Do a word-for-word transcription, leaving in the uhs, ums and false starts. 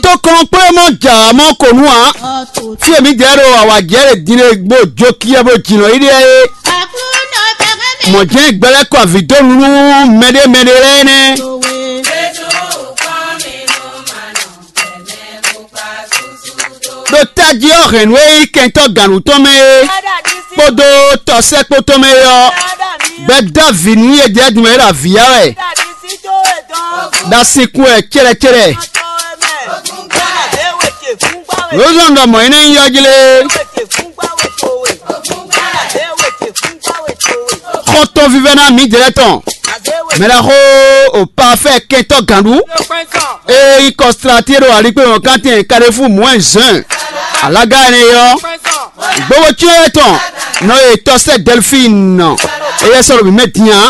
Tó kɔn kplé mɔ jà mɔ kò nú ǎ. Fí e mǐ jɛ ɖo awǎjɛ ɖe din ɖe bó jó kíyɛ bó jǐnɔ yi ɖe é. Mɔ̌ jɛ́n gbɛlɛ́ kɔ avǐ dó nu nú mɛɖé mɛɖé lɛ́ɛ nɛ́. Ɖo tají ɔ́ hɛ̌nnu e nyí kɛntɔ́ gǎnnu tɔn mɛ é kpódó tɔsɛ́kpo tɔn mɛ é ɔ́, gbɛdó avǐ nú yě jɛ dun mɛ é ɖo avǐ ya wɛ. Ɖo asinkún wɛ cɛ́ɖɛcɛ́ɖɛ. Lǒzɔn ɖɔ mɔ̌ énɛ́ nyí yɔ́jlé. Xɔ́ntɔn vívɛ́ná mǐdɛɛ tɔn, mɛɖaxó o parfait kɛntɔ́ gǎnɖu, eye nyí kɔslatí e ɖo alikpéwɔnkántɛn Carrefour Moins un, alaga énɛ́ é ɔ́, gbowó cyɔ́n wɛ tɔn nɔ e tɔsɛ́ Delphine, éyɛ́ sɔ́ ɖo mǐ mɛ din ǎ.